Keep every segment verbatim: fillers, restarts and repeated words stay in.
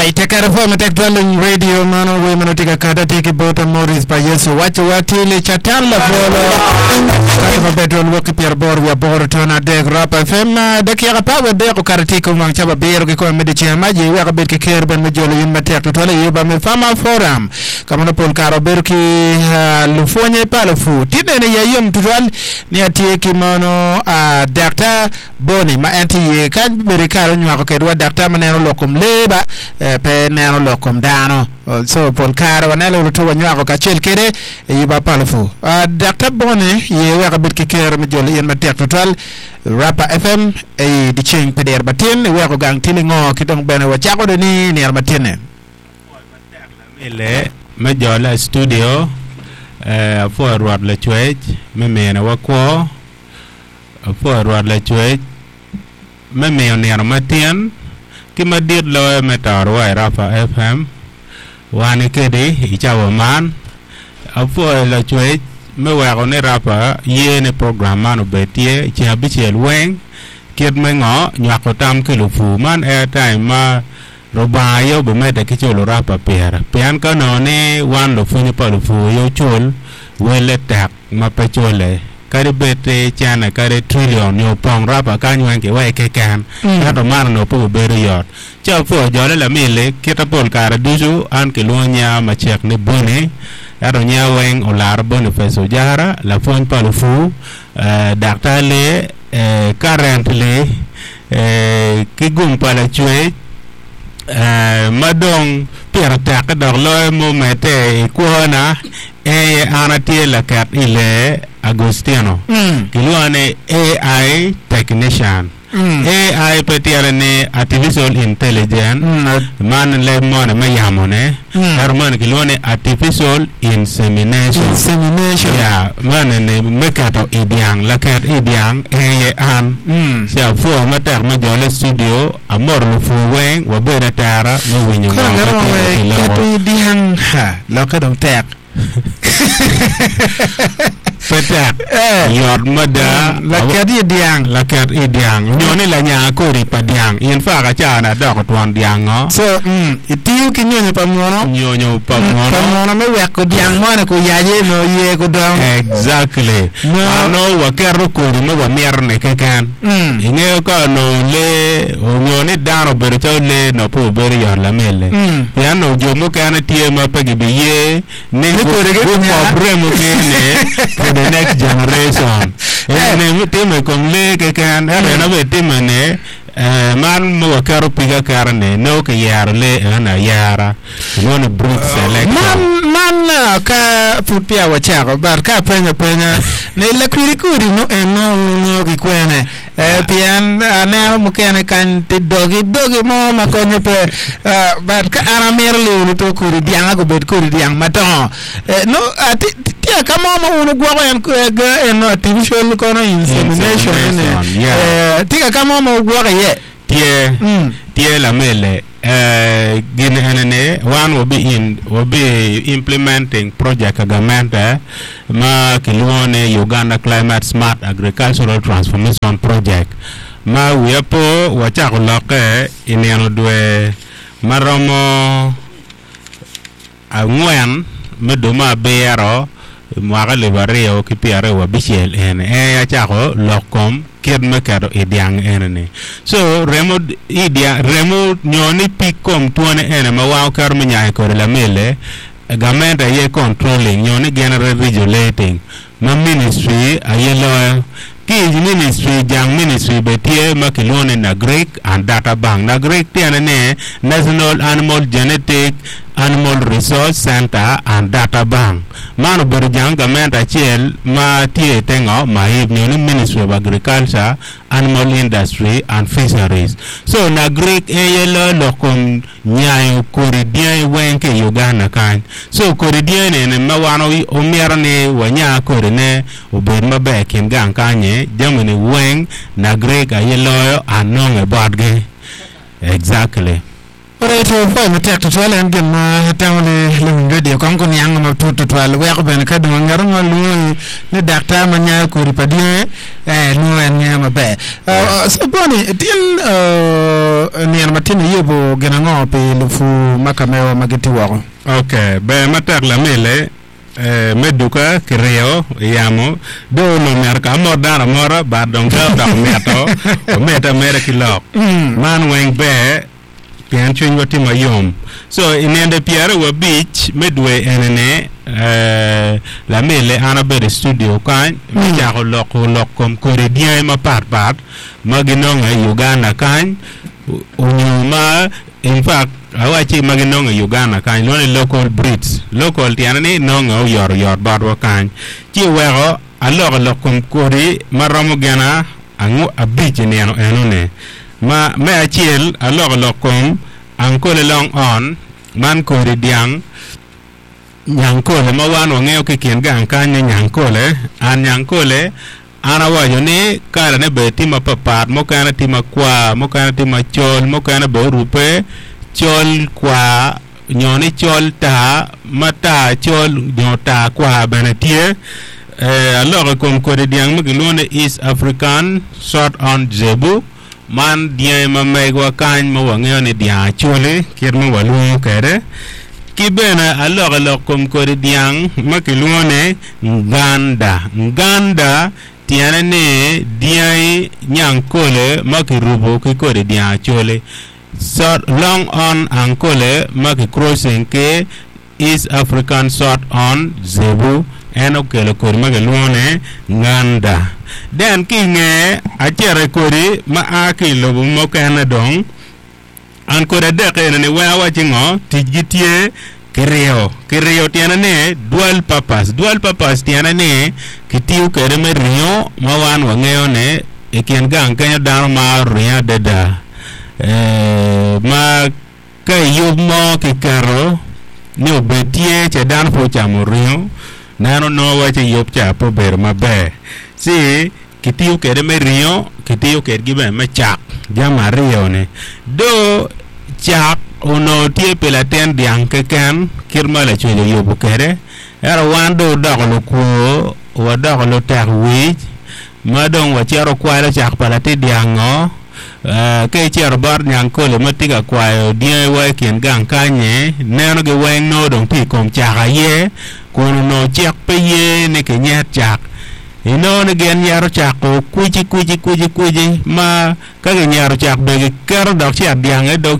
Alright, tekere fo matek twal radio mano we mano tika kata tiki bota Morris pa Yesu wacho watili chatan la bolo kata maber twal wuok ki pyera aboro wiye aboro tona adek Rap F M. Dakika apar wiye adek okato tye kom wang cawa abiro ki kome me dyeceng ma ji wek abed ki ker ben me jolo yin matek tutwal i yuba me Farmer Forum ka ma pol kare wabedo ki uh, lupwonye pa lupur tye nene ya yom tutwal ni atye ki mono uh, Daktar Boni ma en tye iye kany bedo i kare onywako kedwa daktar ma neno lok kom lee ba eh, pe neno lok kom dano. Oh, so pol kare waneno luto wanywako kacel kede i yuba pa lupur. uh, Daktar Boni ye wek abed ki ker me jolo in matek tutwal Rapa F M i dyeceng pi diro matin iweko gang tili ngo ki dong bene wacako do ni nino matinne. Mile me jole i studio eh, apwoyo Rwot Lacwec me minowa kwo, apwoyo Rwot Lacwec me miyo nino matin ki madit loyo me torowa i Rapa F M wan kedi i cawa man. Apwoyo Lacwec me weko ni Rapa ye ni program man obed tye ceng abicel weng kit me ngo nywako tam ki lupur man airtime ma Rubanga aye obimedde ki culo Rapa pire, pien ka onongo ni wan lupwonye pa lupur aye ocul welle tek ma pe cule kadi bed ti cene kadi trillion nyo pong Rapa kany weng kiwek keken, ento man onongo pe obedo yot. Ci apwoyo jole lamili kita pol kare ducu an kilwongo nyinga macek ni Boni, ento nyinga weng olaro Boniface Ojara, lapwony pa lupur, eh, daktar lee, eh, currently eh, ki gum pa Lacwec eh, ma dong pire tek dok loyo mumedde i kwona eye an atye laket i lee Agostino. Mm. Kilwongo ni A I technician. Mm. A I pe tyene ni artificial intelligence. Mm. Man leb moni me yamone. Mm. Ento moni kilwongo ni artificial insemination. Insemination. Yeah, man ni me keto i dyang, laket i dyang eye an. Mm. Ci apwoyo matek me jole studio, amoro lupur weng wabedo atera me winyo Koro ngo ma garomo tye ki keto loko. i dyang ha lokke dong tek. Pe tek. Eh. Yot mada. Laket i dyang. Laket i dyang nyo ni lanya kodi pa dyang. In fact acana adoko twon dyang ngo. So mm, itiyo ki nyonyo pa muno. Nyonyo pa Pa muno. muno me weko dyang moni ku yaje no ye ku dong. Exactly. No. Ano waketo kodi ma wamito ni keken. Mm. Ingeyo ka onongo lee onyo ni dano obedo calo lee no pe obedo yot lamelle. Mm. Pien onongo jo mukene tye ma pe gibiye ni Ni kodi gi gukob remo gi ni for the next generation. Eh. Ene timo i kom lee keken, ento en abe time ni eh, man ma waketo pig aketa ni nongo kiyero lee enoni ayera, kilwongo ni breed selection. Man man uh, ka pud peya wacako but ka apenyo apenya ni lakwidi kodi no eno nongo ki kwene eh, pien aneno mukene kany ti dogi dogi mo ma konyo pe uh, but ka an amito liwulu to kodi dyanga gubed kodi dyang madongo eh, no uh, ti ti- tye ka mo ma wun ugwoko en eh, ga- en artificial kono insemination ni Insemination, yeah. eh, tye ka mo ma ugwoko iye? Tye. Mm. Tye lamele eh, gin enene wan wabi in wabi implementing project agamente ma kilwongo ni Uganda Climate Smart Agricultural Transformation Project ma wiya po wacako lokke i nino dwe maromo angwen me dwe me abiro mwaka alip aryo ki pyera aryo abicel eni en acako lok kom kit me keto i dyang enini. So remo i dyang remo nyo ni pig kom twone ene ma wan oketo me nyayo kode lamele gamente aye controlling nyo ni gin regulating ma ministry aye loyo ki i ministry. Jang ministry be tye ma kilwongo ni Nagric and Data Bank. Nagric tyene ni National Animal Genetic Animal Resource Center and Data Bank. Man obedo jang gamente acel ma tye i te ngo MAIP nyo ni Ministry of Agriculture, Animal Industry and Fisheries. So Nagric eye loyo lok kom nyayo kodi dyangi weng ki i Uganda kany. So kodi dyangi eni ma wan omyero ni wanya kodine obed maber i kin gang kanyi jami ni weng Nagric aye loyo anonge botgi. Exactly. Alright, So poi matek tutwal en gin ma tamo ni luwiny radio kong kuniang matut tutwal weko bene ka dong ng'ato mo luongi ni daktar ma nyayo kodi pa dyangi eh, nongo en ng'eyo maber. Uh, so Boni tin uh, nino matin iyubo gin ango pi lupu ma kamewa ma gitye woko? Ok, ber matek lamile eh, me duka kiryo iyamo do onongo myero ka amot dano amota but dong ka odok mito omedde ameda ki lok man weng ber pien cwinywa tye mayom so i ninde pyeraryo abic me dwe enini eh, lamile an abedo i studio kany me cako loko lok kom kodi dyangi mapatpat ma ginongo i Uganda kany onyo ma in fact awaci ma ginongo i Uganda kany lwongo ni local breeds local tyene ni nongo oyotoyot botwa kany ci weko aloko lok kom kodi ma romo gina angw abic i nino enoni ma me acel aloko lok kom ankole long horn man kodi dyang nyankole ma wan wang'eyo ki i kin gang kany ni nyankole an nyankole an awaco ni kalane bene tye mapapat mukene tye makwar mukene tye macol mukene bene orupe col kwar nyo ni col tar ma tar col nyo tar kwar bene tye eh, aloko i kom kodi dyang ma kilwongo ni East African Short Horn Zebu man dyangi ma megwa kany ma wang'eyo ni dyang acholi kit ma walwongo kwede ki bene aloko lok kom kodi dyang ma kilwongo ni nganda nganda tyene ni dyangi nyankole ma kirubo ki kodi dyang acholi Short, long horn ankole ma ki crossing ki East African Short Horn Zebu en okelo kodi ma kilwongo ni nganda then ki ingeye acito i kodi ma a ki i lobo mukene dong an kodi adek eni ni weng awaci ngo ticgi tye kiryo kiryo tyene ni dual purpose dual purpose tyene ni kitiyo kwede me ringo ma wan wangeyo ni i kin gang kenyo dano maro ringo adada eh, ma ka iyub mo kiketo ni obed tye ce dano pe ocamo ringo neno nongo waci yub ca pe obedo maber ci kitiyo kwede me ringo kitiyo kwedgi bene me cak jami aryo ni do cak onongo tye pi latin dyang keken kit ma lacwec oyubo kwede ento wan dong odoko lukwo wadoko lutek wic ma dong wacito kwalo cak pa latin dyango eh, ka icito bot nyankole ma tye ka kwayo dyangi i kin gang kanyi nenogi weng nongo dong tye i kom cak aye kun onongo cik pe ye ni kinyet cak inongo ni gin nyeto cako kwici kwici kwici kwici ma ka kinyeto cak bene giketo dok cet dyang i dog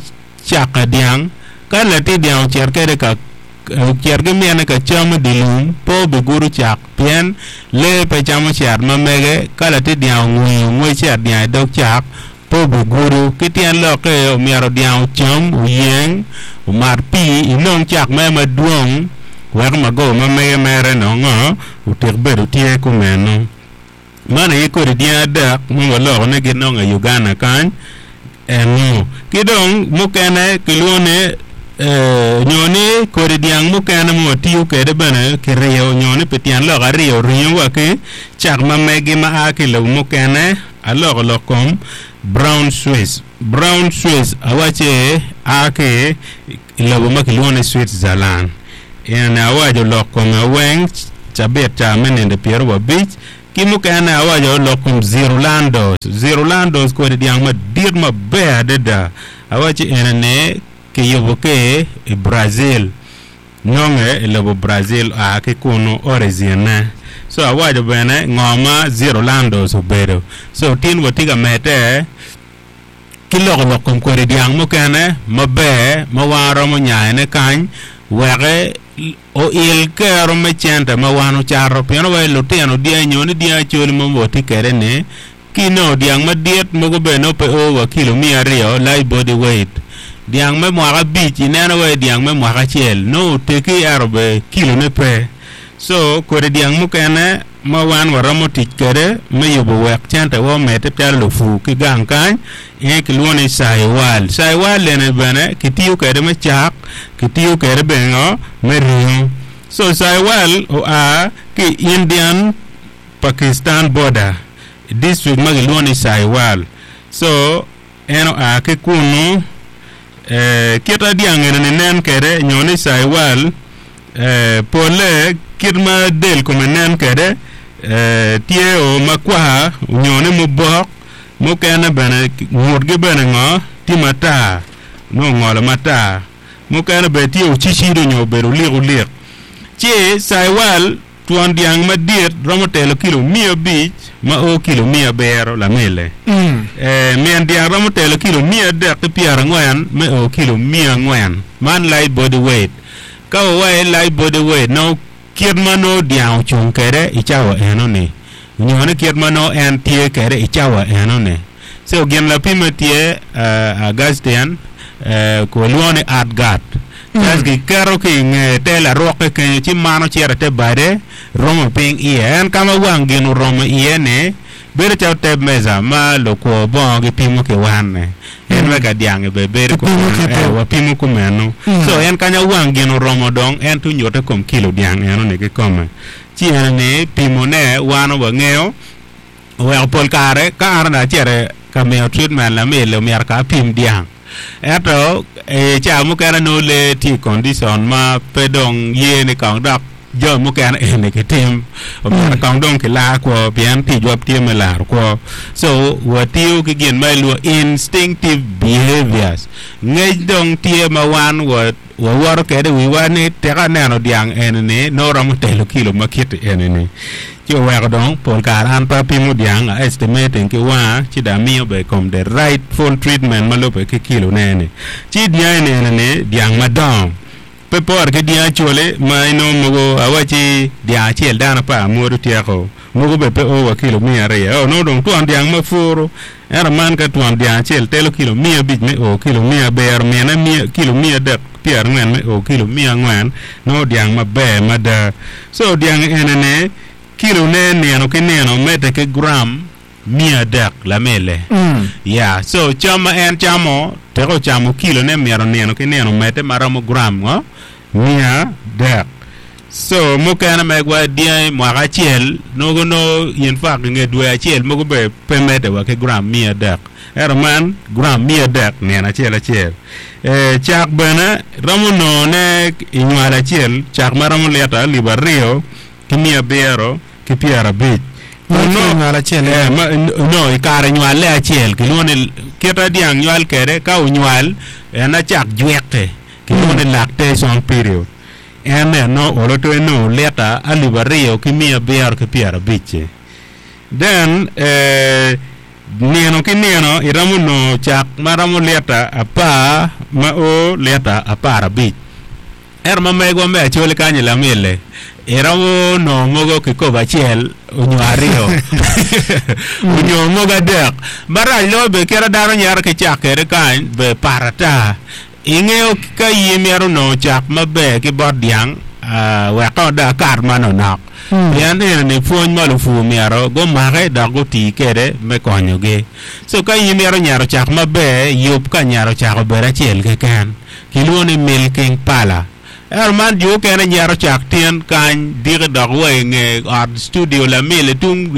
cak ka dyang ka latin dyang ocit kede ka ocit ki mine ka cam i dye lum pe obigudo cak pien lee pe camo cet ma mege ka latin dyang ongweyo ngwec cet dyang i dog cak pe obigudo ki tyen lokke omyero dyang ocam oyeng omat pii inong cak mere madwong wek magoba ma mege mere nongo otik bedo tye kumeno man aye kodi dyangi adek ma waloko ni ginongo i Uganda kany eno ki dong mukene kilwongo ni eh, nyo ni kodi dyang mukene ma watiyo kwede bene kiryo nyo ni pi tyen lok aryo ringo wa ki cak ma megi ma a ki i lobo mukene aloko lok kom brown swiss brown swiss awaci a ki i lobo ma kilwongo ni Switzerland en awaco lok kome weng cabit ca me ninde pyeraryo abic ki mukene awaco lok kom Zirulandos Zirulandos kodi dyang madit maber adada awaci enini kiyubo ki i Brazil nonge i lobo Brazil a ki kunu origin ne so awaco bene ngo ma Zirulandos obedo so tin watye ka medde ki loko lok kom kodi dyang mukene maber ma wan romo nyayone kany weke oil kero me cente ma wan ocato pien wa lutino dyangi nyo ni dyangi acholi ma watye kwede ni ki inongo dyang madit mogo bene nongo pe o wa kilo miya aryo live body weight dyang me mwaka abic ineno wa dyang me mwaka acel nongo otegi ento be kilone pe so kodi dyang mukene ma wan waromo tic kwede me yubo wek cente wa omedde calo lupu ki gang kany en kilwongo ni Sahiwal Sahiwal eni bene kitiyo kwede me cak kitiyo kwede bene ngo me ringo so Sahiwal oa ki i Indian Pakistan border district ma kilwongo ni Sahiwal so en oa ki kunu Eh, kita dyang eni ni nen kede nyo ni Sahiwal eh, pole kit ma del kome nen kede eh, tye o makwar nyo ni mubok mukene bene ngutgi bene ngo tye matar nongo ongolo matar mukene bene tye ocicido nyo obedo olik olik ci Sahiwal twon dyang madit romo telo kilo mia abic ma o kilo mia abiro lamele Mm. eh, min dyang romo telo kilo mia adek ki pyerangwen me o kilo mia angwen man light body weight ka wawaci light body weight nongo kit ma nongo dyang ocung kede i cawa enoni nyo ni kit ma nongo en tye kede i cawa enoni so gin lapime tye uh, Augustine uh, kilwongo ni Atgat kas giketo ki i nge te larukke kenyo ci mano cito te bade romo piny iye en kama wang gin oromo iye ni bedo calo te meza ma lukwo bongo gipimo ki wanne en wek dyangi be bedo Gipimo kumeno kite. eh, wapimo kumeno Mm. so en kanya wang gin oromo dong en tunyute kom kilo dyang enoni kikome ci en ni pimone wan wang'eyo oweko pol kare ka an acito ka miyo treatment lamil omyero ka apim dyang ento e ca mukene nongo lee tye i condition ma pe dong ye ni kong dok jo mukene eni kitim omyero kong dong kilar kwo pien ticwa tye me laro kwo so watiyo ki gin ma iluongo instinctive behaviors ngec dong tye ma wan wa wawoto kede wiwa ni tek aneno dyang eni-ni nongo romo telo kilo ma kiti eni-ni ci oweko dong pol kare an pe apimo dyang a estimating ki wanga ci dong amiyo be kom the rightful treatment ma lube ki kilo ne ni ci dyang eni ni dyang madongo pe por ki dyang acholi ma inongo mogo awaci dyang acel dano apar mwodo tyeko mogo be pe o wa kilo mia aryo o nongo dong twon dyang ma puro ento man ka twon dyang acel telo kilo mia abic me o kilo mia abiro mine mia kilo mia adek pyerangwen me o kilo mia angwen nongo dyang maber mada so dyang eni ni kilo ne nino ki nino medde ki gram mia adek lamele Mm. ya so cam ma en camo teko ocamo kilo ne myero nino ki nino medde maromo gram ngo mia adek so mukene megwa dyangi mwaka acel nongo no in fact inge dwe acel mogo be pe medde wa ki gram mia adek ento man gram mia adek nino acel acel eh, cak bene romo nongone i nywal acel cak maromo lita alip aryo ki mia abiro ki pyerabic Ma Ono- ki nywal acel, eh, ma, no i kare nywale acel kilwongo ni kita dyang nywal kede ka onywal en acak jweke kilwongo ni lactation period en eno olo to enongo lita alip aryo ki mia abiro ki pyerabic then eh, nino ki nino iromo nongo cak maromo lita apar ma o lita apar abic ento ma megwa me acholi kany i lamile iromo nongo mogo kikopo acel onyo aryo onyo mogo adek marac loyo be kite dano nyero ki cak kede kany be pat ata ing'eyo ka in imito nongo cak maber ki bot dyang uh, wek kong dong akat manonok Mm. pien eni ni pwony ma lupur myero gumake dok gutii kede me konyogi so ka in imito nyero cak maber yub ka nyero cak obed acel keken kilwongo ni milking parlour ento man jo okene nyero cak tyen kany diki dok wa i nge ot studio lamil tung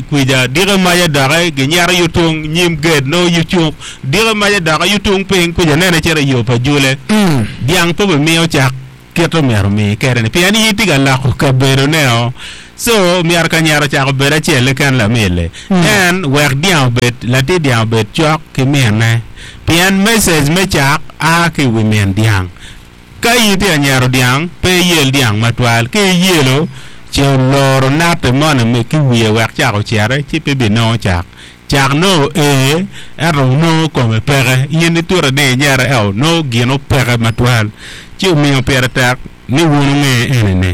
kwija diki maca doki ginyero yu tung nyim gate nongo yu cuk diki maca doki yu tung piny kwija nene cito i yo pa jule Mm. dyang pe bimiyo cak kit omyero mi kede ni pien in itye ka loko kabedo neo so myero ka nyero cak obed acel keken lamile Mm. en wek dyang obed latin dyang obed cok ki mine pien message me cak a ki i wi min dyang ka in itye ka nyero dyang pe iyel dyang matwal ka iyelo ci oloro natte moni mi ki wiye wek cak ocere ci pe binongo cak cak nongo ee ento nongo kome peke in itute ni inyere eo nongo gino peke matwal ci omiyo pire tek ni wun ung'e eni ni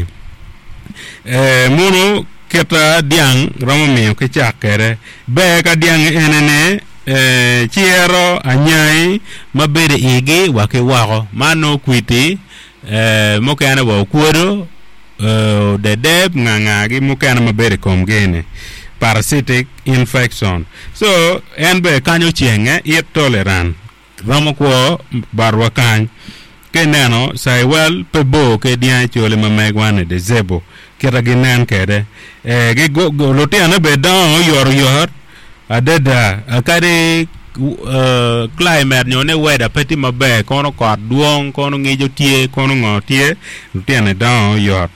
eh, munu kita dyang romo miyo ki cak kede ber ka dyang eni ni eh, ciro anyai ma bedo i igi wa ki woko man nongo kwiti eh, mukene wa okwodo eh, odedeb ngangagi mukene ma bedo i komgi ni parasitic infection so en be kanyo cenge it tolerant romo kwo barwa kany ka ineno Sahiwal pe bor ki dyang acholi ma megwa ni de zebu kita ginen kede eh, gigo- go- lutino be dongo oyotoyot adada akadi uh, climate nyo ne weather pe tye maber kono kot dwong kono ngico tye kono ngo tye lutino dongo oyot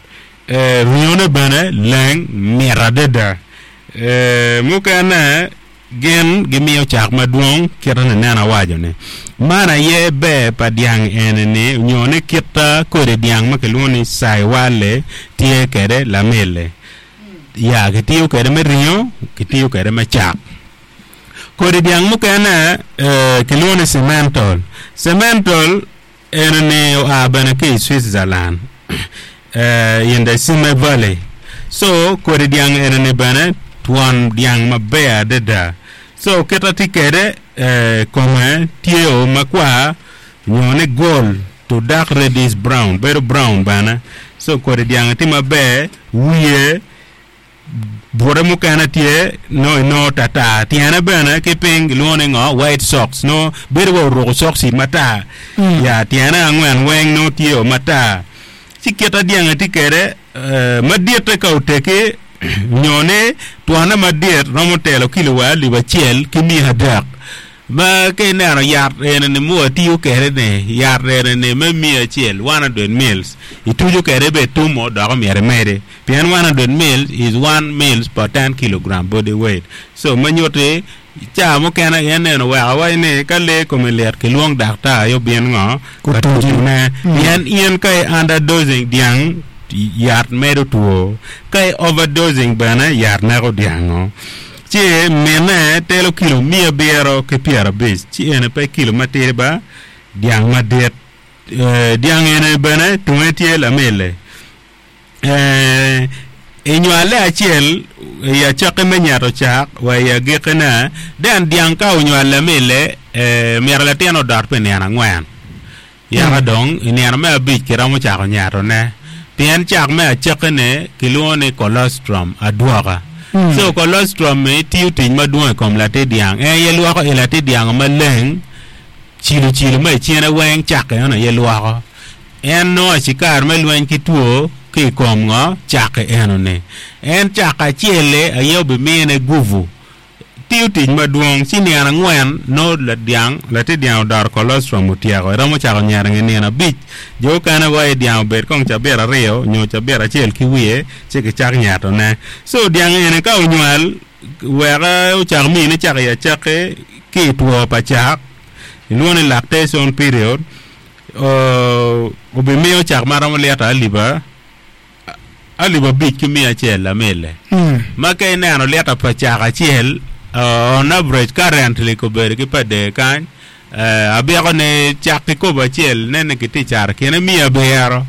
eh, ringone bene leng mit adada eh, mukene gin gimiyo cak madwong kite ni neno awaco ni man aye ber pa dyang eni ni nyo ni kita kodi dyang ma kilwongo ni Sahiwal tye kede lamele ya kitiyo kede me ringo kitiyo kede me cak kodi dyang mukene eh, kilwongo ni Simmental Simmental eni ni oa bene ki i Switzerland eh, in the Sime Valley so kodi dyang eni ni bene twon dyang maber adada so kita tye kede eh, kome tye o makwar nyo ni gold to dark reddish brown bedo brown bene so kodi dyang tye maber wiye bute mukene tye no no tata tyene bene ki piny kilwongo ni ngo white socks no bedo wa oruko soksi matar Mm. ya tyene angwen weng no tye o matar ci kita dyang tye kede eh, maditte ka oteki nyo ni twone madit romo telo kilo wa alip acel ki mia adek ma ka ineno yat eni ni mu atiyo kede ni yat eni ni me mia acel one hundred mils ituco kede be tumo dok omyero imedi pien one hundred mils is one mils per ten kilogram body weight so ma nyuti ca mukene en neno weko awaci ni ka lee kome lit kilwong daktar aye obin ngo ka Kutucu. tucune Mm. pien in ka i underdosing dyang yat medo two ka i overdosing bene yat neko dyango ci mine telo kilo mia abiro ki pyerabic ci ene pe kilo matidi ba dyang madit Eh, dyang ene bene tunge tye lamele Eh, inywale acel i acaki me nyeto cak wa i agikine then dyang ka onywal lamele eh, myero latin odot pi nino angwen yaka dong i nino me abic kiromo cako nyetone pien cak me acakine kilwongo ni colostrum adwoka Mm. so colostrum mi tiyo tic madwong i kom latin dyang en aye lwoko i latin dyang maleng cilo cilo ma i cine weng cake eno aye lwoko en nongo acikar me lweny ki two ki i kom ngo cake eno ni en cak acel-li aye obimine guvu tiyo tic madwong ci nino angwen no ladyang latin dyang odoro colostrum otyeko iromo cako nyeto nge nino abic jo okene wa i dyang obed kong cabit aryo nyo cabit acel ki wiye ci kicak nyetone so dyang eni ka onywal wek ocak mine cak i acaki ki i two pa cak ilwongo ni lactation period uh, obimiyo cak maromo lita alip alip abic ki mia acel lamele Mm. ma ka ineno lita pa cak acel uh, on average currently kobedo ki pa dee kany uh, abyeko ni cak kikopo acel nene kitye caro kine mia abiro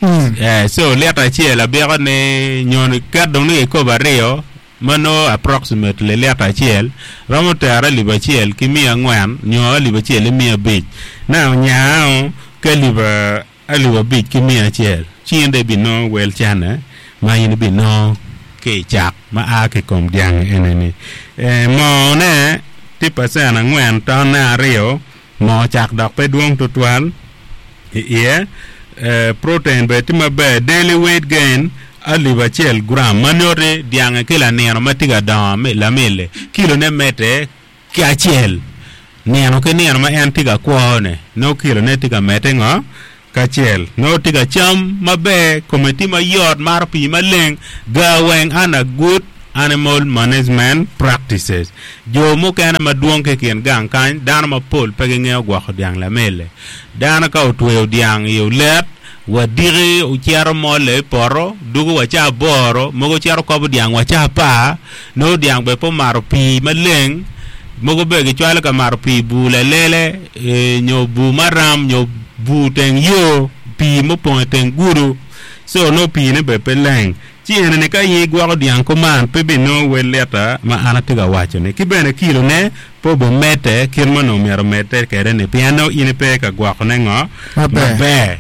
Mm. eh, so lita acel abyeko ni nyo ni ket dong ni kikopo aryo ma no approximately lita acel romo tero alip acel ki mia angwen nyo alip acel ki mia abic now nyao ki alip alip abic ki mia acel ci in dong ibinongo wel cene ma in ibinongo ki i cak ma a ki i kom dyang eni-ni eh, moone tye pacen angwen tonne aryo moo cak dok pe dwong tutwal i iye eh, protein bene tye maber daily weight gain alip acel gram ma nyuti dyange ki lanino ma tye ka dongo mi- lamele kilone medde ki acel nino ki nino ma en tye ka kwone nongo kilone tye ka medde ngo kacel nongo tye ka cam maber kome tye mayot maro pii maleng gar weng under good animal management practices jo mukene madwong ki i kin gang kany dano mapol pe gingeo gwoko dyang lamele dano ka otweyo dyang i olet wadiki ocito mole i poto dugo wa ca aboro mogo cito kobo dyang wa ca apar nongo dyang bene pe omato pii maleng mogo bene gicwalo ka mato pii i bur lalele eh, nyo bur maram nyo bur teng yo pii mupong i teng gudo so nongo piine bene pe leng ci eni ni ka in igwoko dyang kuman pe binongo wel lita ma an atye ka waco ni ki bene kilone pe obimedde kit ma onongo myero omedde kede ni pien nongo in ipe ka gwokone ngo Maber. maber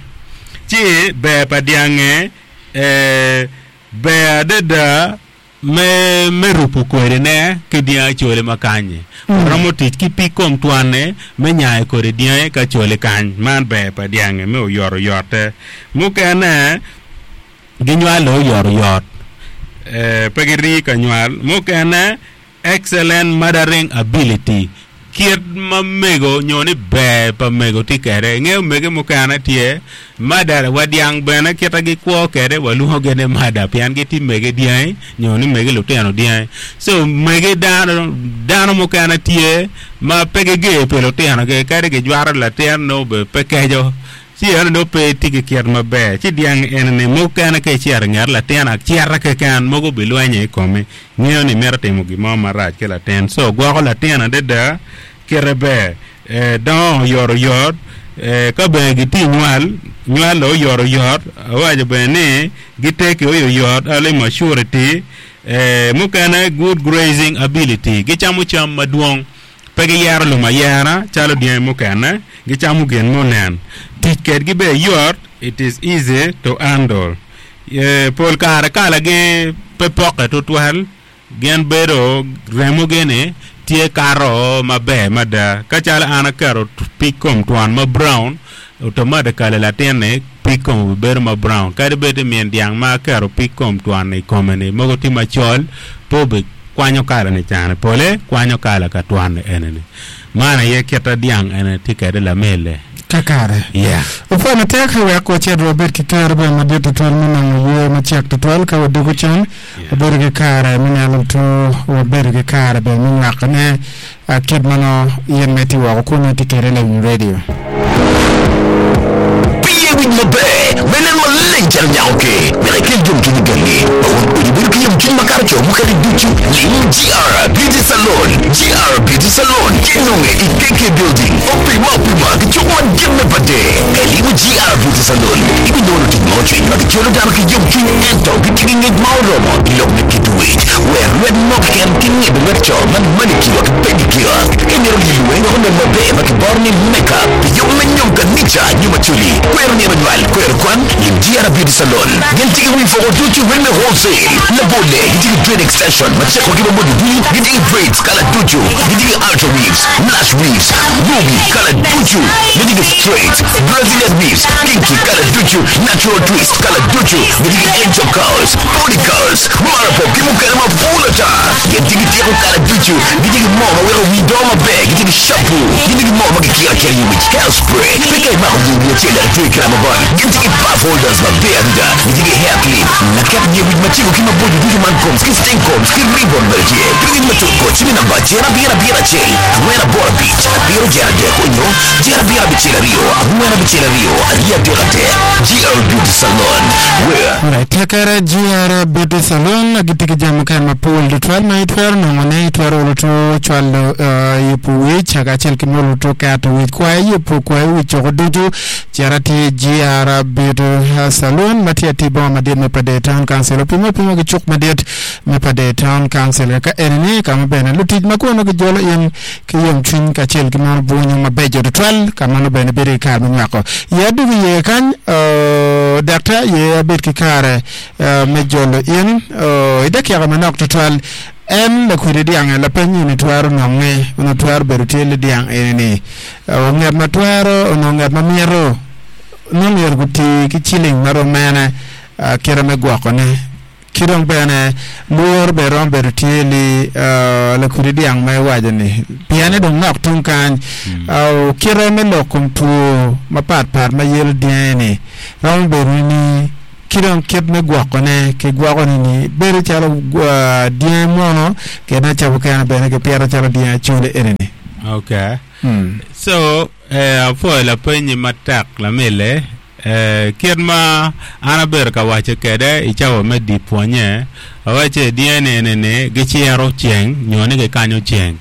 ci ber pa dyange eh, ber adada me me rupo kodine ki dyang acoli ma kanyi Mm. romo tic ki pig kom twane me nyayo kodi dyange ka coli kany man ber pa dyange me oyotoyote mukene ginywalo oyotoyot eh, pe girii ka nywal mukene excellent mothering ability Kit ma mego nyo ni ber pa mego tye kede ingeo mege mukene tye mada wa dyang bene kita gikwo kede walwongo gene mada pien gitye mege dyangi nyo ni mege lutino dyangi so mege dano dano mukene tye ma pe giger pi lutinogi kadi gijwaro latin nongo be pe keco ci eno nongo pe tye ki kit maber ci dyang enini mukene ka icito i nget latin acita keken mogo bilwenyo i komi ngeo ni mito timo gin mo marac ki latin so gwoko latin adada kite ber eh, dongo oyotoyot eh, ka bene gitye nywal nywal oyotoyot awaco bene ni giteki oyoyot early maturity eh, mukene good grazing ability gicamo cam madwong pe giyero lum ayera calo dyangi mukene gicamo gin munen tic kedgi bene yot it is easy to handle eh, pol kare kalagi pe poke tutwal gin bedo remogi-ni tye kato maber mada ka calo an aketo pig kom twon ma brown automatically latin-ni pig kome obibedo ma brown kadi bed ni min dyang ma aketo pig kom twon i kome-ni mogo tye macol pe obikwanyo kala-ni cani pole kwanyo kala ka twon eni-ni man aye kita dyang eni tye kede lamele kakare yeah. Opwoyo matek wek wacit wabed ki kero bene madit tutwal me nongo yweyo macek tutwal ka wadwogo cen wabedo ki kare me neno tu wabedo ki kare bene me nywakone ah, kit ma nongo in ma itye woko kun itye kede lawiny radio Piye winy maber me nen maleng calo nyako ke wek ikel yomcwiny i gangi ma wun odi bedo ki yomcwiny makato co mukene ducu lim GR Beauty Salon GR Beauty Salon kinonge i KK Building opima opima ki cuk madit me pade ka ilimo GR Beauty Salon ibinongo tic ma ocwiny ma gicolo dano ki yomcwiny ento gitye ki ngec ma oromo i lok me kit wic wer lwet mo keken ki ngibo lwet co man manicure ki pedicure ka imito lilo weng wek onen maber ma kiboro ni makeup pi yub me nyom kanica nyo macoli kwero nino nywal kwero kwan lim GR Beauty Salon gin tye ki wi poko ducu weng me wholesale labole gitye ki dread extension ma ceko ki maboco ducu gitye ki braids kala ducu gitye ki ultra weaves lash weaves ruby kala ducu gitye ki straight Brazilian weaves kinky kala ducu natural twist kala ducu gitye ki angel curls body curls marapop ki mukene mapol ata gin tye ki tyeko kala ducu gitye ki mo ma weko wi dongo maber gitye ki shampoo gitye ki mo ma gikiro akira i wic hairspray pe ka imako yer wi acel dok itwe kira mabon gin tye ki puff holders maber adada gitye ki hair clip laket yer wic macego ki maboco ducu man combs ki string combs ki ribbon bene tye pi ngec matut go cim i namba acel abiro abiro acel angwen aboro abic abiro jer adek onyo jer abiro abicel aryo angwen abicel aryo aryo adek adek GR Beauty Salon where Alright, tekere GR Beauty Salon gitye ki jami mukene mapol tutwal ma itwero nongone itwero olo tu cwalo uh, yubo wic kacel ki molo tu keto wic kwayo yubo kwayo wic coko ducu cera tye GR Beauty Salon ma tye atir boma madit me Pader Town Council opimo apima ki cuk madit me Pader Town Council ka enini kama bene lutic ma kono gijolo in ki yomcwiny kacel ki mono bwonyo mabeco tutwal ka mano bene bedo ki kare me nywako ye adugo iye kany uh, daktar ye abed ki kare uh, me jolo in uh, i dakika manok tutwal en lakwidi dyang lapeny ini twero nonge ono twero bedo tye li dyang enini uh, ngat ma twero ono ngat ma myero no myero guti ki ciling marom mene uh, kite me gwokone ki dong bene luoro bene romo bedo tye li uh, lakwidi dyang ma iwaco ni piene dong nok tung kany uh, kite me lok kom two mapatpat ma yelo dyangi ni romo bedo ni ki dong kit me gwokone ki gwokone ni bedo calo uh, dyangi mwono kede cabo kene bene kipito calo dyangi acoli enini okay mm. so eh, apwoyo lapenyi matek lamele eh, kit ma an abedo ka waco kede i cawa me di pwonye awaco dyangi eni giciro ceng nyo ni gikanyo ceng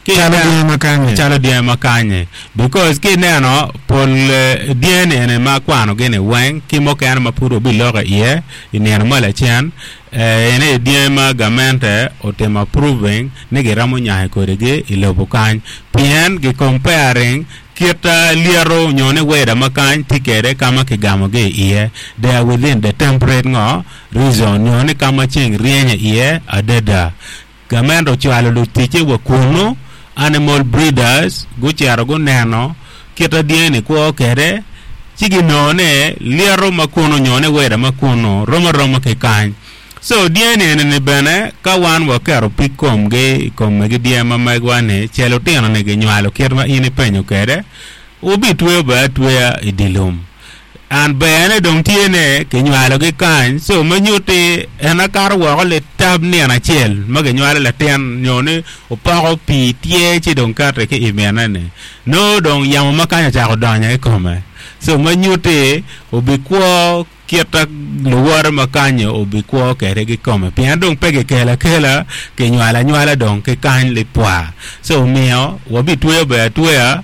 Ki calo ineno- dyangi makanye calo dyangi makanye because ki ineno pol eh, dyangi eni ma akwano gini weng ki mukene ma pud wabiloko iye i nino ma lacen eh, eni dyangi ma gamente otimo approving ni giromo nyayo kodigi i lobo kany pien gi comparing kit uh, lyeto nyo ni weather ma kany tye kede kama kigamogi iye they are within the temperate ngo region nyo ni kama ceng ryenyo iye adada gamente ocwalo luticce wa kunu animal breeders gucito guneno kita dyangi kwo kede ci ginongo ni lyeto ma kunu nyo ni weather ma kunu rom aroma ki kany So dyeni eni ni bene ka wan waketo pig komgi i kom megi dye ma megwa ni cel otino ni ginywalo kit ma in ipenyo kede obitweyo be atweya i dye lum an bene dong tye ne kinywalogi kany so ma nyutti en akato woko litab nino acel ma ginywalo latin nyo ni opoko pii tye ci dong kati ki i mine-ni nongo dong yamo ma kany ocako donyo i kome so ma nyutti obikwo kita luwote ma kanyo obikwo kede kikome pien dong pe kikelo akela kinywalo anywala dong ki kany lipwa so omiyo wabitweyo be atweya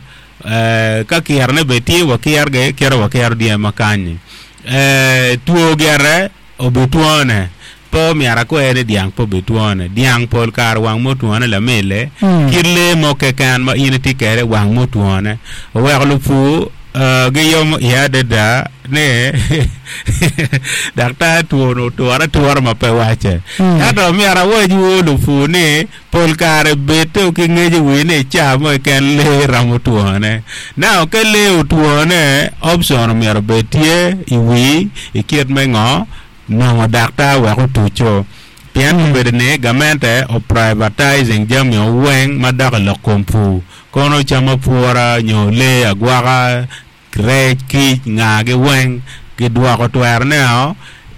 eh, ka kirone be tye wakirgi kite wakiro dye ma kanyi eh, two gire obitwone pe omyero akwer ni dyang pe obitwone dyang pol kare wang motwone lamille Mm. kit lee mo keken ma in itye kede wang motwone oweko lupur uh, giyomo iye adada ni daktar two otwore atura ma pe wace Mm. ento myero awacwu lupur ni pol kare bed ki ngec i wi ni ca mo keken lee romo twone now ka lee otwone option omyero bed tye i wi i kit me ngo nongo daktar wek otuco pien Mm. obedo ni gamente o privatizing jami oweng ma dok i lok kom pur kono cam apura nyo lee agwaka rec kic ngagi weng gidwoko twerone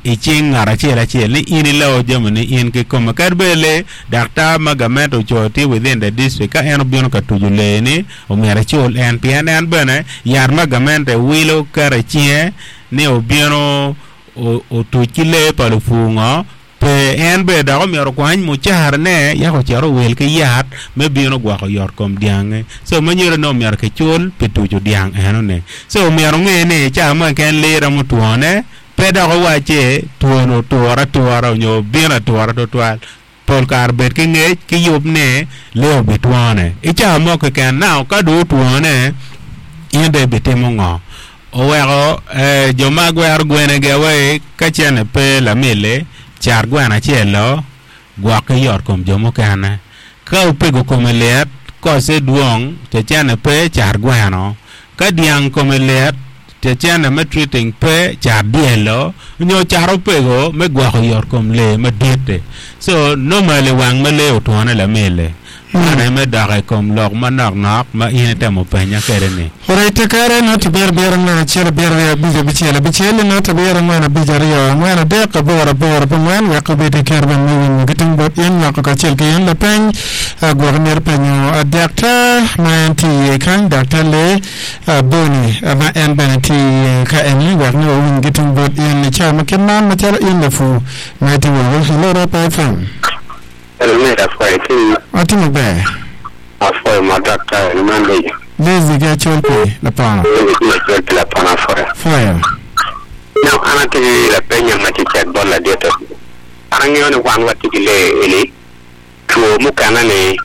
i cing ngat acel acel ni in iloo jami ni in kikome kadi bed lee daktar ma gamente ocoyo tye within the district ka en obino ka tuco lee ni omyero ecul en pien en bene yat ma gamente wilo keto i cinge ni obino o- otuc ki lee pa lupur ngo pe en bene dok omyero okwany mucarane yako ocito owil ki yat me bino gwoko yot kom dyangi so ma nyuto ni omyero kicul pi tuco dyang enoni so omyero onge ni ca mo keken lee romo twone pe dok owacci twon oture atura onyo obino atura tutwal pol kare bed ki ngec ki yub ni lee obitwone i ca mo keken now ka dong otwone in dong ibitimo ngo oweko eh, jo ma gwero gwenegi awai ka cene pe lamille cat gweno acel lo gwok ki yot kom jo mukene ka opego kome lit kose dwong te cene pe cat gweno ka dyang kome lit te cene me treating pe cat dyelo nyo cat opego me gwoko yot kom lee madit-ti so normally wang ma lee otwone lamille mane me dok i kom lok manok nok ma in itemo penya kede ni Alright, kare not abiro abiro angwen achiel abiro ariyo abich abichiel abichiel not abiro angwen abich ariyo angwen adek aboro aboro ang'wen wek obed ki ker ben me winyo ki tung bot in nywako kacel ki in lapeny ah, gwok myero penyo ah, daktar ma en tye iye kany daktar lee ah, Boni ah, ma en bene tye iye ka eni wek ni wawiny ki tung bot in i cawa ma kit man macalo in lapur ma itye woko hello Rap F M Mera afwayo ti atimo ber afwayo ma daktar ni man lejo. Lezi ki acol pi lapono Lejo ki acol pi lapono afwayo. fwayo Now an atye ki lapenya ma tye cek bot ladite. An ang'eyo ni wan watye ki lee eni two mukene ni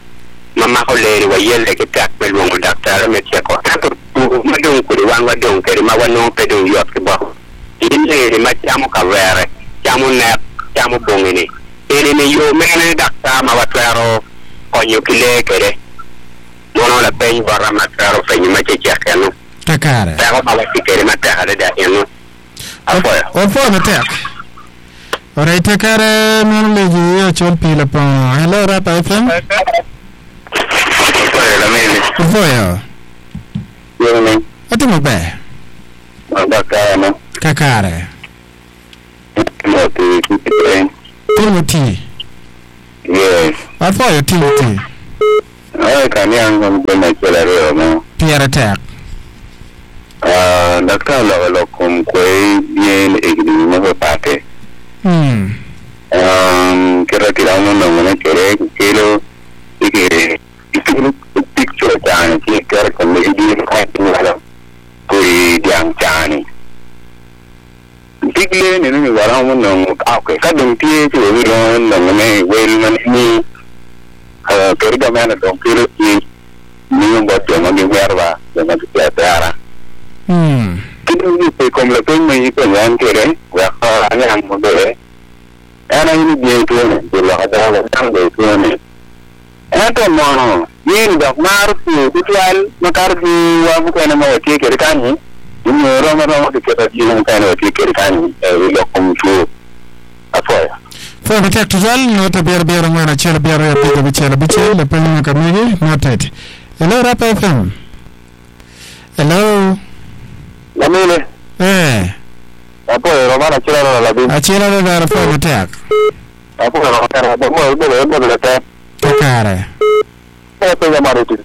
ma mako lee ni wayelle ki tek me lwongo daktari me ceko ento two ma dong kodi wan wadong kede ma wanongo pe dong yot ki bot in lee ni ma camo kavere camo nek camo bongi ni eni ni yo mene daktar ma watwero konyo ki lee kede mono lapeny bota ma twero penyo ma cecek eno kakare teko ma watye kede matek adada eno afwayo wafoyo matek Alright, kare mano leji acol pi lapono hello Rap F M afwayo lamene Wafoyo yene atimo ber ma daktar no kakare Timothy Kipeng Timothy yes wafoyo Timothy ay kaniang kom gwen achiel ariyo mo piere tek Ah, daktar loko lok kom kwe bien e higni mopapate mm. um, kata kiromo nongo ne kere kelo ike ikelo picture chani ki kere kom ne di ka kuri diang chani Digle ni ni waromo nongo okay ka dong tie ti wi ro nongo ne wel man ni eh kere ga mena dong kelo ti ni ngo joma gi werba joma gi tera Mm. kendo ni pe kom la pe me ko nyan kere wa ka anyang mo be ana ni bi to ne bi la ka da dang be to ne ento mono yin dok mar pu tutwal ma kar bi wa bu kene mo ti kere kanyi ni ro ma ro ki kere ji mo kene ti kere kanyi e lo kom tu afoya Four matek tutwal not abiro abiro angwen acel abiro aryo abic abicel abicel lapeny ma kamegi noted. Hello Rap F M. Hello. Lamine. Eh. Apoyo romana acel aryo labim. Acel aryo dara four matek. Apoyo romana mo mo mo mo te. Kakare. Eh pe ya mari ti.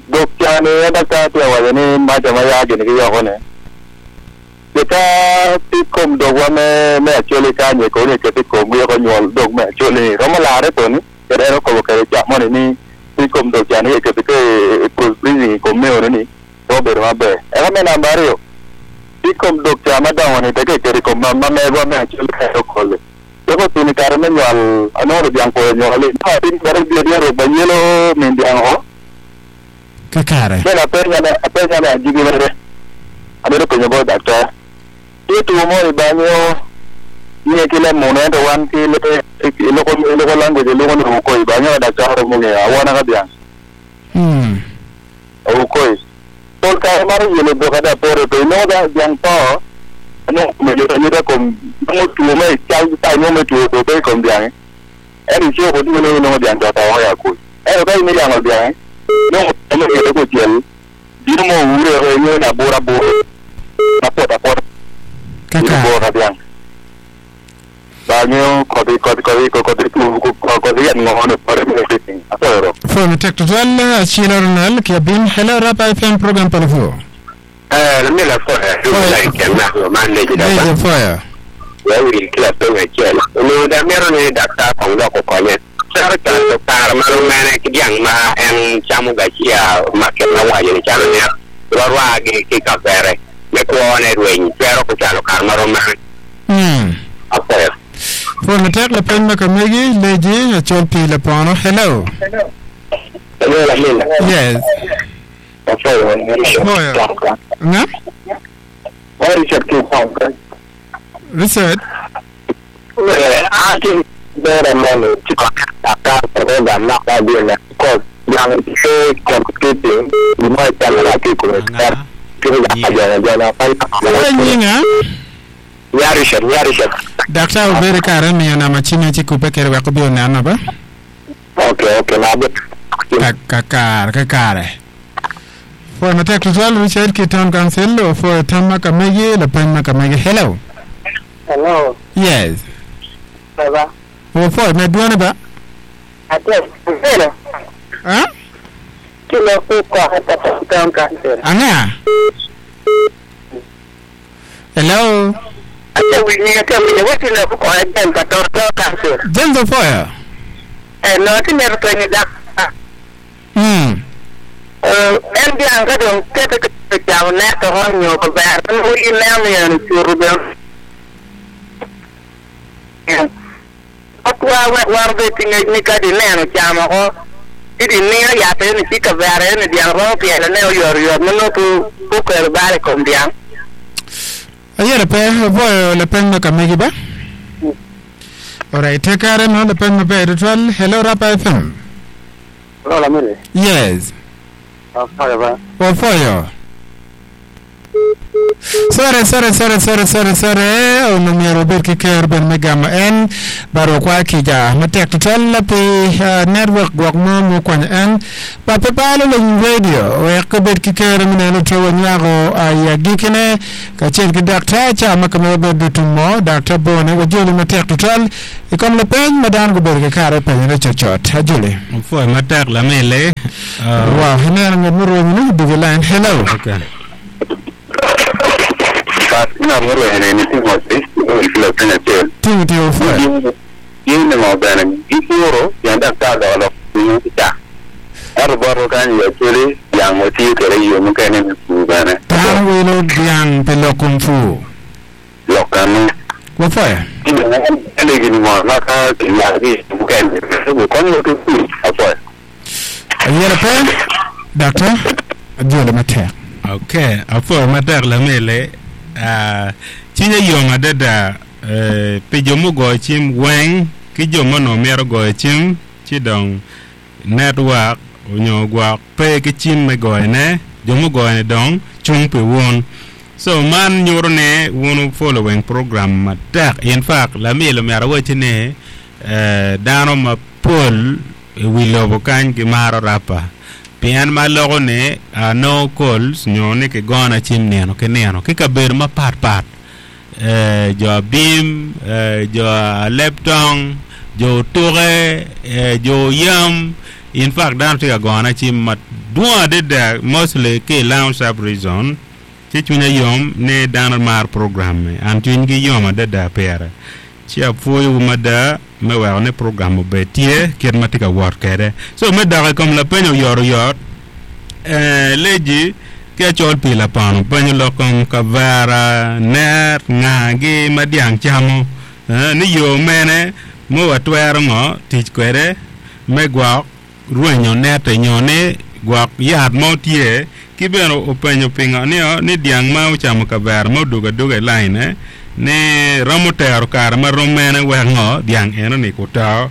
Dok chane eda ka ti awajo ni macha ma yagi ni yoko ne. Ka ti kom dogwa me me acholi kanye ko ni keti kom yoko nyuol dog me acholi romo lare to ni kede ero ko kede cha moni ni ti kom dog chane keti ke cross breeding kom me ni to bedo maber. Eka me namba ariyo ti kom dog cha madongo ni teke kedi kom ma ma megwa me acholi ka kole. Yoko tini kare me nyuol anoro biang ko nyuol na tin kare bi ro banyelo min biang ho. Kakare. Bene apenya ne apenya ne ajigi mere. Abedo penjo bo daktar. Itu mo ni banyo nie kile muno ento wan kile iloko iloko language iloko ni ukoi banyo daktar mo nge awana ka biang. Hmm. Ukoi. Tol ka mar yele do kada pore to no da biang to no me yo yo kom no tuo me chal ta no me tuo ko be kom biang. Eri chio ko ni no biang to ta ya ku. Ero ka ni biang biang. No no ke ko tiel. Dino mo ure re yo na bora bora. Na pota pota. Kakare. Bora biang. Banyo kodi kodi kodi kodi kodi kodi yan ngono pare me fitting. Aporo. Four matek tutwal acel aryo nel ki abim. Hello Rap F M program palafu. Eh, la mela fo eh, lu la ke na ko man le jida ba. Leje foya. Ya wi kila penga chel. No da mero ni daktar kong lo ko konye. Sar ta to kar ma lo mene ki diang ma en chamu ga chia ma ke na wa ni chalo ne. Ro wa gi ki ka bere. Me ko ne rwen, pero ko chalo kar ma ro mene. Hmm. Aporo. Four matek lapeny ma kamegi leje acol pi lapono. Hello. Hello la mela. Yes. Aporo. Foya. Nga? Richard ki kong. Richard. Eh, ati bere mone chiko aka program na ka bi na ko yang se computing ni mo ta la ki ko ta ki ya ja ja na pa Foya nyinga. Ya Richard, ya Richard. Daktar obere kare miyo nama chime chi kupe kere weko bi oneno ba? Okay, okay, na be. Kakare, kakare. Foya matek tutwal Richard ki town council o foya tam ma kamegi lapeny ma kamegi. Hello. Hello, Yes. baba. O foya me duone ba? Ate, hello. Ha? Kilo kuko hata town council. Anga? Hello. Ate wini ate wini wati na kuko hata town council. James Foya. Eh, no ti mer to ni da. Hmm. Eh, en bi anga don kete ke jaw na to honyo ko ber. No i na mi an churu be. Atwa wa war be tinge ni ka di neno chamo ko. Idi ni ya te ni chika bere ni diang ro piele ne yor yor no ku ku ker bare kom diang. Ayere pe foya lapeny ma kamegi ba? Alright, take care no lapeny ma ber tutwal. Hello Rap F M. Hello la mele. Yes. Aporo ba. O foyo. Sorry, sorry, sorry, sorry, sorry, sorry. Ono miero ber ki ker ben me gamo en baro kwa kija matek tutwal pi uh, network gwok mo mo kwanyo en ba pe palo le radio wek bed ki ker mineno to nyago ay gikene kacel ki daktar cha ma kame bed tumo daktar bone wajoli matek tutwal ikom le peny madan go ber ki kare penyo ne chot ajuli. Foy matek la mele. Wow, hinero ngat mo ni dugu line. Hello. Okay. Ka na mo ro ne ni ti mo ti kila penga chel. Tingi tiyo foy. Yini mo bene gipuro yang daktar do lo ni ta. Aro boro kan ya chele yang mo ti kere yo mo kene ni fu bene. Tan wilo diang pelo kung fu. Lokano. Wa foy. Ele gini mo na ka ya gi mo kene. Ko kon yo ti fu apo. Ayere pe daktar ajole matek. Okay, afoy matek la mele. Ah, cinye yom adada eh, pi jo mugoyo cim weng ki jo mono myero goyo cim ci dong network onyo gwok pe ki cim me goyone jo mugoyo ni dong cung pi wun So man nyuro ne wunu following program matek. In fact, lamilo myero awaci ni eh, dano mapol i wi lobo kany gimaro rapa. Pien ma loko ni uh, no calls nyo ni kigona cim nino ki nino ki kabedo mapat pat eh, jo abim eh, jo aleptong jo otuke eh, jo yam in fact dano tye ka gona cim madwong adada mostly ki i Lango sub region ci cwinya yom ni dano maro program ni an cwinygi yom adada pire ci apwoyowu mada me weko ni program obed tye kit ma tye ka wot kwede so me dok i kom lapeny oyotoyot eh, leji ki acol pi lapono penyo lok kom kavera ner ngagi ma dyang camo eh, ni yo mene ma watwero ngo tic kwede me gwok rwenyo nete nyo ni gwok yat mo tye ki bene openyo pingo ni, ni dyang ma ocamo kavera ma odugo aduga i line eh, ni romo tero kare ma rom mene wek ngo dyang eno ni kuto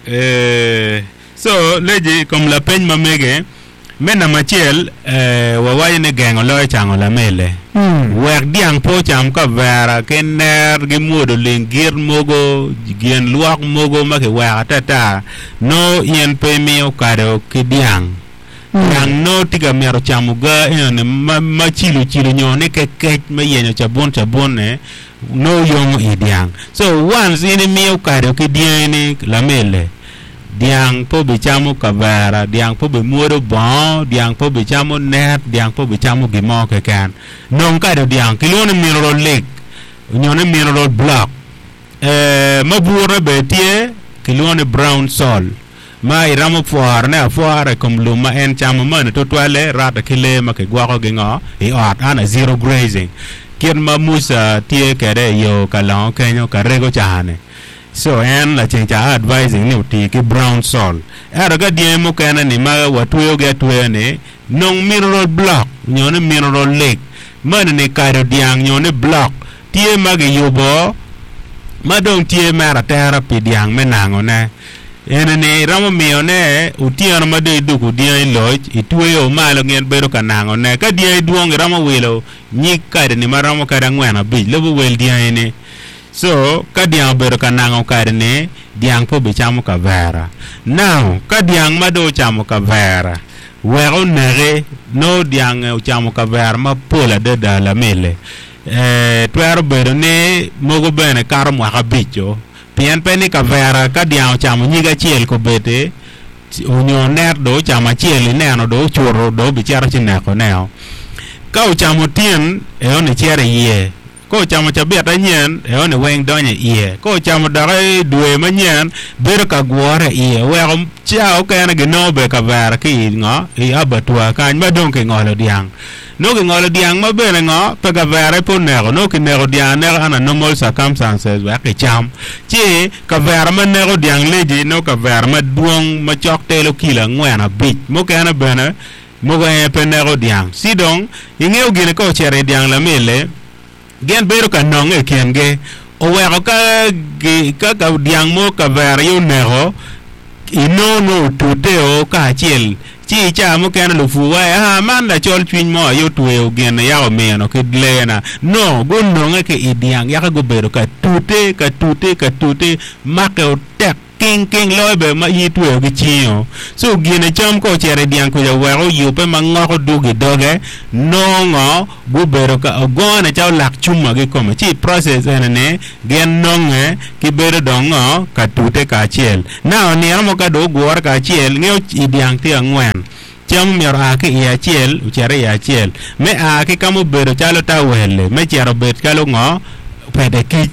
eh, so leji kom lapeny ma mege me namba acel eh, wawaco ni gengo loyo cango lamele Mm. wek dyang pe ocam kavera ki ner gimwodo lingit mogo gin lwok mogo ma kiweko atata no in pe imiyo kado ki dyang dyang no tye ka mito camo ga enoni ma, ma cilo cilo nyo ni kekec me yenyo cabun cabun ne no yongo i dyang so once in imiyo kado ki dyangi lamele dyang po bicamo kavera dyang po bimwodo bongo dyang po bicamo net dyang po bicamo gimo keken nong kado dyang kilwongo ni mineral lick nyo ni mineral block eh, ma bure be tye kilwongo ni brown soil ma iromo fworone afwora i kom lum ma en camo mani tutwalle rwatte ki lee ma kigwokogi ngo i ot ana zero grazing kit ma Musa tye kede i yo ka longo kenyo ka rego cani so en laceng ca advising ni oti ki brown soil ento ka dyangi mukene ni ma watweyogi atweya ni nong mineral block nyo ni mineral lick mani ni kado dyang nyo ni block tye ma giyubo ma dong tye mere atera pi dyang me nangone ene ni iromo miyone otyeno ma dong idugo dyangi loc itweyo malo gin bedo ka nangone ka dyangi dwong iromo wilo nyig kadi ni maromo kadi angwen abic lubo wel dyangi ni so ka dyang obedo ka nango kadi ni dyang po bicamo kavera now ka dyang ma dong ocamo kavera wek oneki no dyang ocamo kavera mapol adada lamele eh, twero bedo ni mogo bene kato mwaka abic-o pien pe ni kavera ka dyang ocamo nyig acel kobedi onyo net do ocamo acel ineno do ocuto do obicito ci nekoneo ka ocamo tyen eoni cito iye ka ocamo cabit anyen eoni weng donyo iye ka ocamo dok i dwe manyen bedo ka gwore iye weko ca okene ginongo be kavera ki i ngo i abattoir kany ma dong kingolo dyang nongo kingolo dyang ma bene ngo pe kavera pe oneko nongo kineko dyang aneka under normal circumstances wek kicam ci kavera ma neko dyang leji nongo kavera madwong ma cok telo kilo angwen abic mukene bene mogo en pe neko dyang ci dong ingeo gine ka ocito i dyang lamele gin bedo ka nonge i kingi oweko ka gi, ka, ka dyang mo kavera ye oneko inongo no otuteo kacel ci i ca mukene lupu waci ah man lacol cwiny mo aye otweyo gin yaka omino ki leena no gunonge ki i dyang yaka gubedo ka tute ka tute ka tute make otek king king loyo be ma in itweyo ki cingo so gine cam ka ocito i dyang kuca wek oyube ma ngoko dugo i doge nongo gubedo ka ogone calo lak cuma kikome ci i process ene ni gin nonge gibedo dong ngo ka tute kacel now nino mo ka dong ogure kacel ngeo i dyang tye angwen cam myero a ki i acel ocito i acel me a ki kama obedo calo tawel me cito obed calo ngo pede kic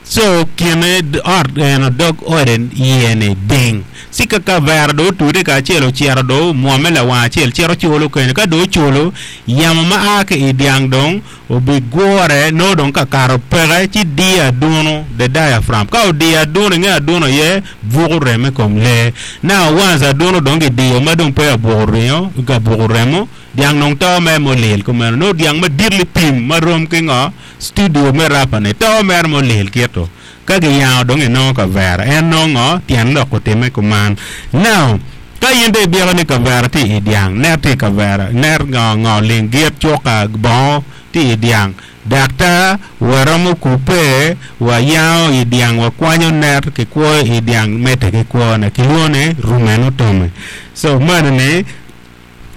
so kine ot eno dog ode iye ni ding ci ka kavera dong otude kacel ocito dong omwome lawang acel cito culo kenyo ka dong oculo yamo ma a ki i dyang dong obigure nongo dong kakato peke ci diyo aduno the diaphragm ka odiyo aduno inge aduno ye buko remo i kom lee now once aduno dong gidiyo ma dong pe abuko ringo abuko remo dyang dong to mere molil kumeno nongo dyang madit lipim marom ki ngo studio me rapa ni to mere molil kito ka giyango dong inongo kavera en nongo tyen lok otime kuman now ka in dong ibyeko ni kavera tye i dyang net tye i kavera net ngo ngo lingit cuka bongo Ti dyang daktar waromo kupe wayango i dyang wakwanyo net kikwoyo i dyang mete ki kwone kilwongo ni rumenotomy. So mano ni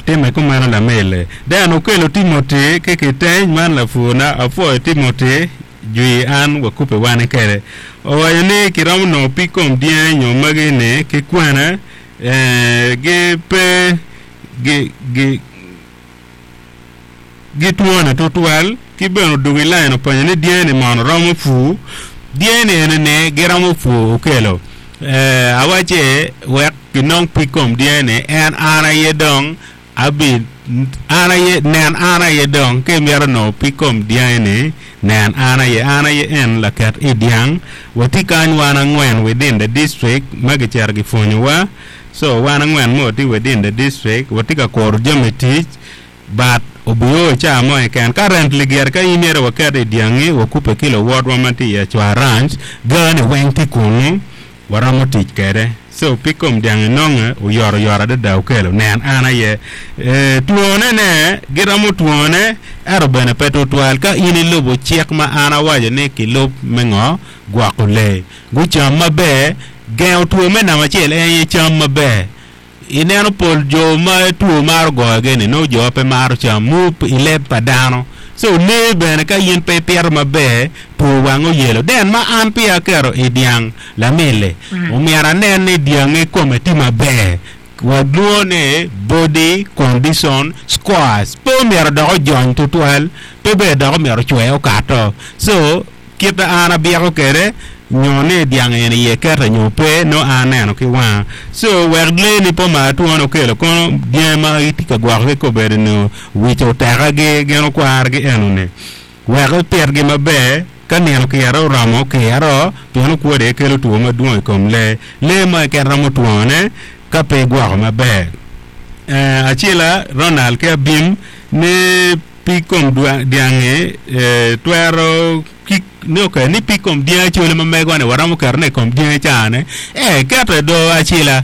time kumeno lamele then okelo Timothy ki kiteny man lapurna apwoyo Timothy jwi an wakupe wan kede owaco ni kiromo nongo pig kom dyangi nyo magi ni ki kwene eh, gi pe gi gi gitwone tutwal ki bene odwogo i lain openyo ni dyangi mono romo pur dyangi eni ni giromo pur okelo eh, awace wek kinong pig kom dyangi en an aye dong abi an aye nen an aye dong ka imito nongo pig kom dyangi ni nen an aye an aye en laket i dyang watye kany wan angwen within the district ma gicito gipwonyowa so wan angwen mo tye within the district watye ka kuro jami tic but obio ca mo keken currently gire ka in myero waket i dyangi wakupe ki luwotwa ma tye i Achwa Ranch gani weng tye kunu waromo tic kede so pig kom dyang inonge oyot oyot adada okelo nen an aye e, twone ne giromo twone ento bene pe tutwal ka in ilubo cik ma an awaco ni kilub me ngo gwoko lee gucam maber gengo two me namba acel en aye cam maber ineno pol jo ma two maro goyogi ni nongo jo pe maro cam mu i leb pa dano so lee bene ka in pe ipito maber two wang oyelo then ma an peya aketo i dyang lamili omyero anen ni dyangi kome tye maber walwongo ni body condition scores pe omyero dok ojony tutwal pe bene dok omyero ocwe okato so kit ma an abyeko kede nyo ni dyang eni iye kete nyo pe no an aneno ki wanga so wek lee ni po mar twone okelo kono dyangi ma itye ka gwokogi kobedo ni wic otekagi gin okwargi enoni wek ipitgi maber ka nino kiro oromo kiro pien okwode kelo two madwong i kom lee lee mo keken romo twone ka pe igwoko maber eh, acila Ronald ki Abim ni pig kom dyangi eh, twero ki ni okay ni pig kom dyangi acoli ma megwa ni waromo ketone i kom dyangi cane eh kete do acila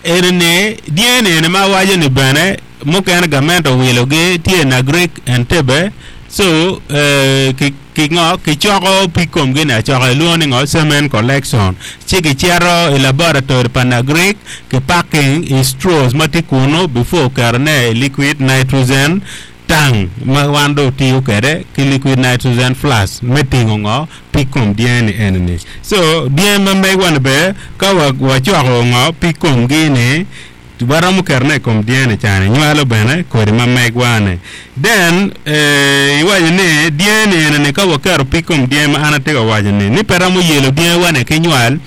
eni ni dyangi eni ma awaco ni bene mukene gamente owilogi tye Nagrik Entebbe so eh, ki ki ngo kicoko pig komgi ni acoka ilwongo ni ngo semen collection ci gicito i laboratory pa Nagrik ki packing i straws ma tye kunu before ketone i liquid nitrogen tank ma wan dong otiyo kede ki liquid nitrogen flask me tingo ngo pig kom dyangi ni eni ni so dyangi ma megwa ni be ka wacoko ngo pig komgi ni waromo ketone i kom dyangi cani nywalo bene kodi ma megwa ni then eh, iwaco ni dyangi eni ni ka waketo pig kom dyangi ma an atye ka waco ni ni pe romo yelo dyangi wa ni ki nywal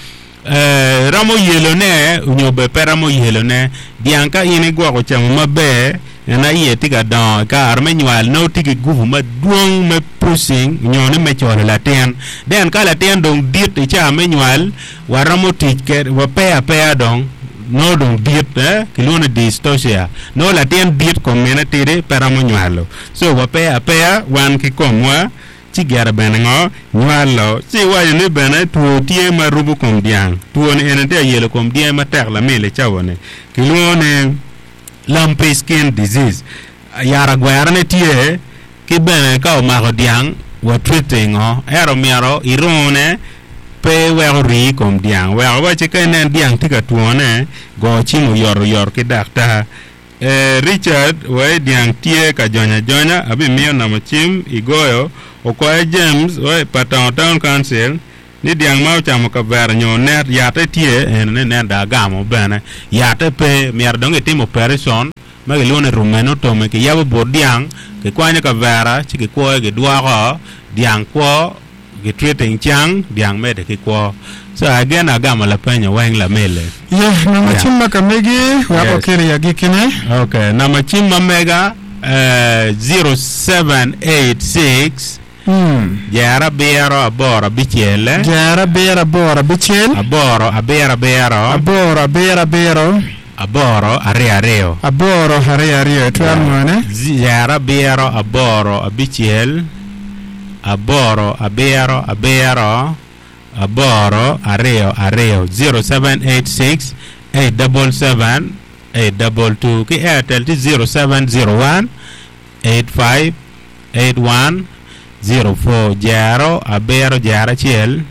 eh, romo yelone nyo be pe romo yelone dyang ka in igwoko camo maber en aye tye ka dongo i kare me nywal nongo tye ki gubu madwong me pushing nyo ni me colo latin then ka latin dong dit i caa me nywal waromo tic kede wapeyo apeya dong nongo dong dit eh kilwongo ni dystocia nongo latin dit kom mine tidi pe romo nywalo so wapeyo apeya wan ki komwa ci gire bene ngo nywalo ci iwaco ni bene two tye ma rubo kom dyang two ni eni tye ayelo kom dyangi matek lamil i cawa ni kilwongo ni lumpy skin disease yat agwerane tye ki bene ka omako dyang wa treating o ento myero irune pe weko rii i kom dyang wek awaci ka inen dyang tye ka twone go cim oyot oyot ki daktar eh, Richard wai dyang tye ka jonyo ajonya abimiyo namba cim igoyo okoye James wai pa Town Town Council ni dyang ma ocamo kavera nyo net yatte tye eno ni nen dong agamo bene yatte pe myero dong itim operation ma kilwongo ni rumenotomy kiyabo but dyang kikwanyo kavera ci kikwoyo gidwoko dyang kwo gitreating cang dyang mede ki kwo so again agamo lapenyo weng lamele Yeah, namba Yeah. cim ma ka megi wek Yes. okelo i agikine okay namba cim ma mega eh, zero seven eight six Hmm. jer abiro aboro abicel Jer abiro aboro abicel aboro abiro abiro aboro abiro abiro aboro aryo aryo aboro aryo aryo itwero nwone jer abiro aboro abicel aboro abiro abiro aboro aryo aryo zero seven eight six eight double seven eight double two ki Airtel ti zero seven zero one eight five eight one zero four jero abiro jero acel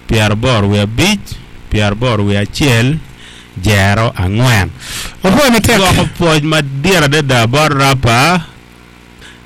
pyera aboro wiye abic pyera aboro wiye acel jero angwen Opwoyo matek. Gwoko pwoc madit adada bot rapa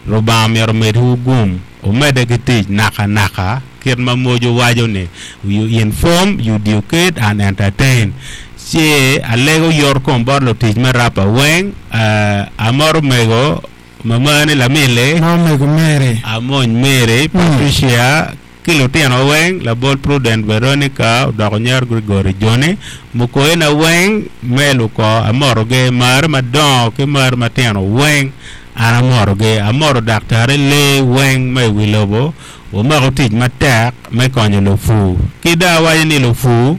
Rubanga myero omedwu gum omedde ki tic naka naka kit ma mojo waco ni you inform you educate and entertain ci alego yot kom bot lutic me rapa weng uh, amoro mego mamani lamili Ma omego Mary. Amony Mary Patricia ki lutino weng labol Prudent Veronica odoko nyer Gregory Johnny mukoyina weng me luko amorogi mar madongo ki mar matino weng an amorogi amoro daktari lee weng me wi lobo wamako tic matek me konyo lupu ki dong awaco ni lupu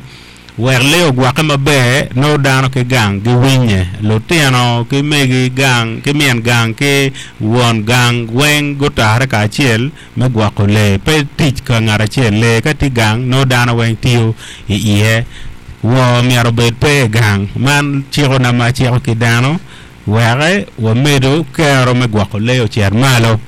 wek lee ogwokke maber nongo dano ki gang giwinye lutino ki megi gang ki min gang ki won gang weng gutare kacel me gwoko lee pe tic ka ngat acel lee ka tye gang nongo dano weng tiyo i iye woo myero obed pe i gang man cikona ma aciko ki dano weke wamedo kero me gwoko lee ocit malo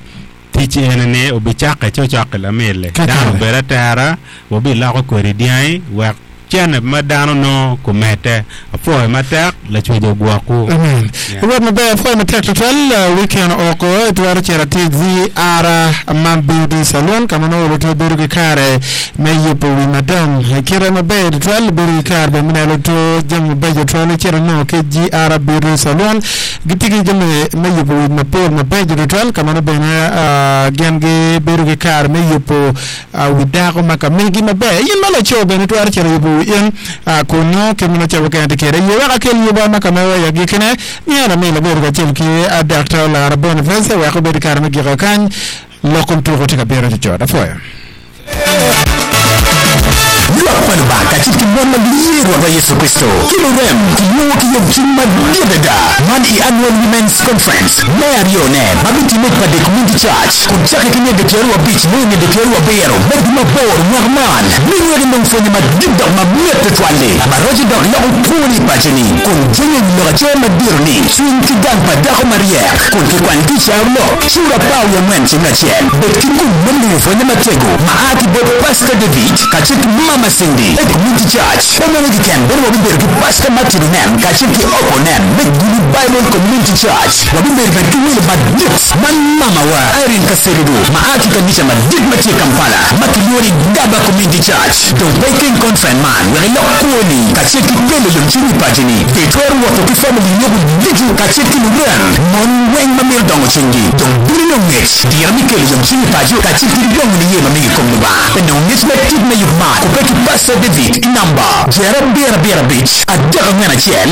tic eni obicakke cokcok lamili Kakare. dano obed atera wabiloko kodi dyangi wek cene ma dano nongo komete apwoyo matek lacwec ogwokwu Amen. Yeah. Rwot maber apwoyo matek tutwal uh, weekend oko itwero cito atir GR Man Beauty Salon ka ma nongo luto bedo ki kare me yubo wi madam kite maber tutwal bedo ki kare bene me neno luto jami mabeco tutwal icito nongo ki GR Beauty Salon gitye ki jami me yubo wi mapol mabeco tutwal ka ma nongo bene uh, gin gibedo ki kare me yubo uh, wi dako ma ka megi maber in ma laco bene twero cito yubo wi in uh, kunu kit ma nongo cabo kene tye kede ye wek akel yuba ma ka mewa i agikine myero ami labedo kacel ki uh, Dr. Lara Boniface wek obed i kare me giko kany lok kom tuko tye ka bino cocot apwoyo Lwak pa Lubanga kacel ki mon ma giye Rwotwa Yecu Kristo ki lurem kilwongo ki yomcwiny madit adada man i annual women's conference me aryone ma bitime i Pade Community Church kun cakke ki nyende pyeraryo abic me nyende pyeraryo abiro me dwe maboro mwaka man minywegi nong pwonye madit dok mamit tutwal-li ma roco dok loko kwoni i paconi kun jenge wi lok acel madito ni cwiny ki gang pa dako maryek kun kikwanyo ki i carolok cura apar wiye angwen ceng acel bed ki gum me lubo pwonye matego ma a ki bot Pastor David kacel ki Mama Cindy e Community Church pe meno keken bene wabibedo ki Pastor Martin Onen kacel ki Opo Onen me Gulu Bible Community Church wabibedo bene ki welo madit man mamawa Irene Kaserudu ma a ki kanica madit ma tye i Kampala ma kilwongo ni Gaba Community Church dong pe ikeng conference man wek ilok kwoni kacel ki kelo yomcwiny i paconi be twero woto ki family yogo ducu kacel ki lurem mon weng ma mito dongo cwinygi dong bino nongo ngec diro mi kelo yomcwiny i paco kacel ki dongo niye ma migi i kom Lubanga pe nongo ngec matut me yub man kubbe ki Pastor David i namba jero abiro abiro abic adek angwen acel